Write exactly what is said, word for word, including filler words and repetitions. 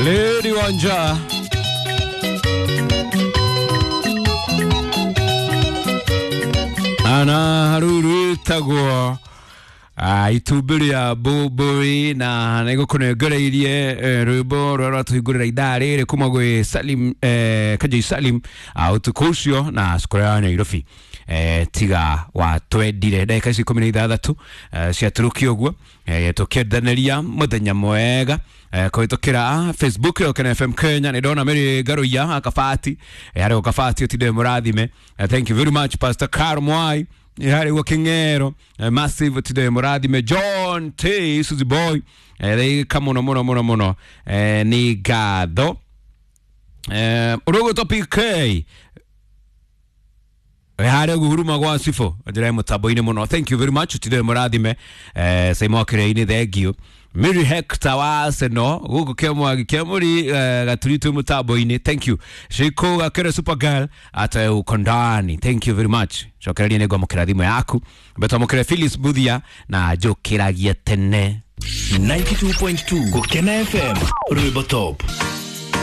Lady Wanja ana haruru ĩtagwo ah, itumbĩ rĩa mbũmbũĩ na nĩgũkũnengereirie eh, rwĩmbo rũrĩa rwatũhingũrĩra ithaa rĩrĩ kuma gwĩ Salim eh, Kajei Salim ah, ũtukũ ũcio na cukuru ya Nairobi eh, tiga watwendire ndagĩka ici ikũmi na ithathatũ eh, ciatũrũkia ũguo eh, tũkĩendanĩria mũthenya mwega eh, kũhĩtũkĩra Facebook ya Ũkena F M Kenya nĩ ndona Mary Ngaruiya akabati eh, harĩ gũkabati ũtinde mũrathime eh, thank you very much Pastor Carl Mwai harĩ guo Kĩng'ero eh, massive ũtinde mũrathime John T Suzy Boy eh, thĩka mũno mũno mũno mũno eh, nĩ ngatho eh, ũrũgũtwo P K harä guhuruma gwa cibå njä må tambo-inä må no thank you very much tindä må rathime eh, saimo kä thank you Mary Hector wa Arsenal gå kå kä mwagi kä må ri eh, gaturi twä må tambo-inä thank you Shiko gakere supergirl ata uko ndani thank you very much cokereria nä ngwamå kä ra thimå yaku mbetwamå kä re Phyllis Buthia na njå kä ragie tene ninety-two point two Gukena F M Rwimbo Top.